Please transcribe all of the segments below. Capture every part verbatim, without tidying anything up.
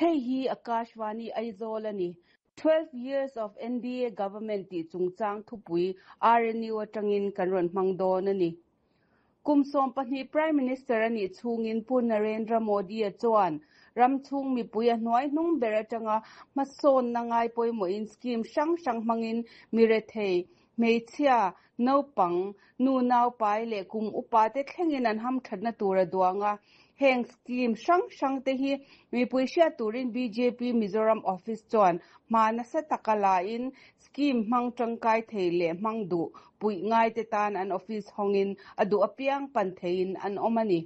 Hei hi Akashvani Aizawl ani. Twelve years of NDA government tih chungchang thupui RNU atangin kan rawn hmang dawn ani. Kum sawm pahnih Prime Minister anih chhungin Pu Narendra Modi a chuan ram chhung mipui a hnuai hnung ber atanga hmasawnna ngai pawimawhin scheme hrang hrang hmangin mi rethei hmeichhia naupang nu nau pai leh kum upa te thlengin an hamthatna tur a duang a heng scheme hrang hrang te hi mipui hriat turin BJP Mizoram office chuan hma nasa taka la in scheme hmang tangkai thei leh hmang duh puih ngai te tan an office hawngin a duh apiang pan theiin an awm ani.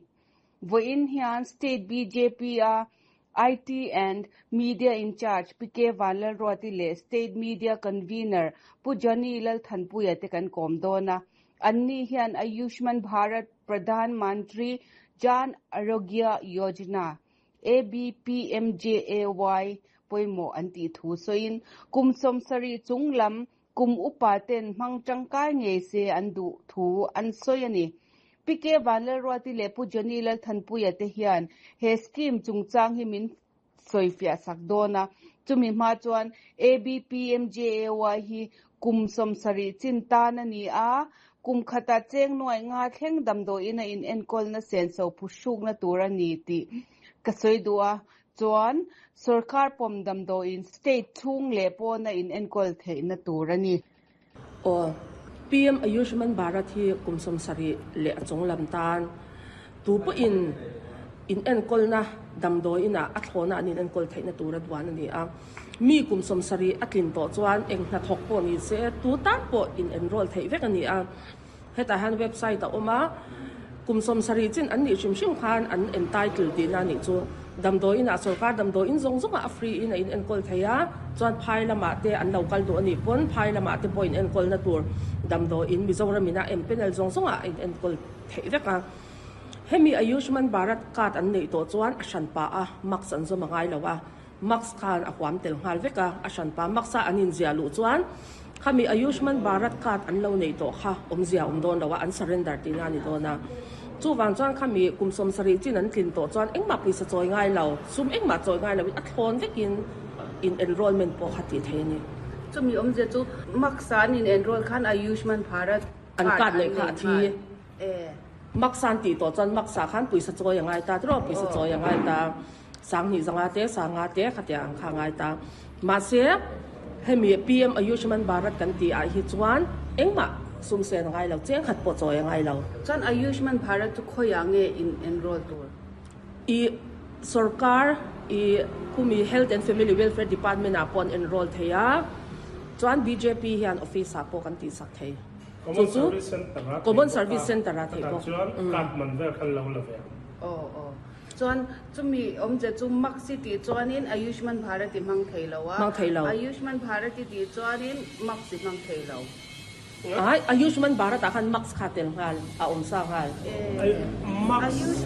Vawiin hian state BJP a IT and Media in charge PK Vanlalruati leh State Media Convener Pu Johnny Lalthanpuia te kan kawm dawn a. Anni hian Ayushman Bharat Pradhan Mantri Jan Arogya Yojana ABPMJAY pawimawh an tih thu sawiin kum sawmsarih chung lam kum upa ten hmang tangkai ngei se an duh thu an sawi ani. PK Vanlalruati leh Pu Johnny Lalthanpuia te hian he scheme chungchang hi min sawifiah sak dawn a chumi hma chuan ABPMJAY hi kum sawmsarih chin tan ani a kum khata cheng nuai nga thleng damdawiin a in enkawlna senso phuhrukna tur ani tih ka sawi duh a chuan sarkar pawm damdawiin state chhung leh pawna in enkawl theihna tur ani. Aw PM Ayushman Bharat hi kum sawmsarih leh a chung lam tan tu pawhin in enkawlna damdawiin a a thlawna an in enkawl theihna tur a duan ani a mi kum sawmsarih a tlin tawh chuan eng hnathawk pawh ni se tu tan pawh in enroll theih vek ani a hetah hian website a awm a kum sawmsarih chin an nih hrim hrim khan an entitle tihna anih chu damdawiin ah sarkar damdawiin zawng zawng ah a free in a in enkawl thei a chuan phai lamah te an lo kal duh anih pawn phai lamah te pawh in enkawlna tur damdawiin Mizoram in a empanel zawng zawng ah a in enkawl theih vek a hemi Ayushman Bharat card an neih tawh chuan a hranpa a mask an zawm a ngai lo a mask khan a huam tel nghal vek a a hranpa mask a an inziah luh chuan khami Ayushman Bharat card an lo neih tawh kha awmzia awm dawn lo a an surrender tihna ani dawn a chuwang chuan khami kum sawmsarih chin an tlin tawh chuan engmah pawisa chawi ngai lo sum engmah chawi ngai lo in a thlawn vekin in enrollment pawh kha tih thei ani. Chumi awmzia chu mask a an in enroll khan Ayushman Bharat an card neih kha a thi e mask an tih tawh chuan mask ah khan pawisa chawi a ngai ta tiraw pawisa chawi a ngai ta sanghnih zanga te sanga te khatia ang kha a ngai ta mahse hemi PM Ayushman Bharat kan tih ah hi chuan engmah sum sen a ngai lo cheng khat pawh chawi a ngai lo. Chuan Ayushman Bharat chu khawiah nge in enroll tur? I sarkar i khumi Health and Family Welfare Department ah pawh an enroll thei a chuan BJP hian office ah pawh kan tih sak thei. Common Service Center a Common Service Center a thei bawk. chuan card man vel khan lo la ve. Aw aw chuan chumi awmzia chu mask i tih chuanin Ayushman Bharat i hmang thei lo a Hmang thei lo. Ayushman Bharat i tih chuanin mask i hmang thei lo. Ai Ayushman Bharat ah khan mask kha tel nghal a awm sa nghal. E Ai mask Ayush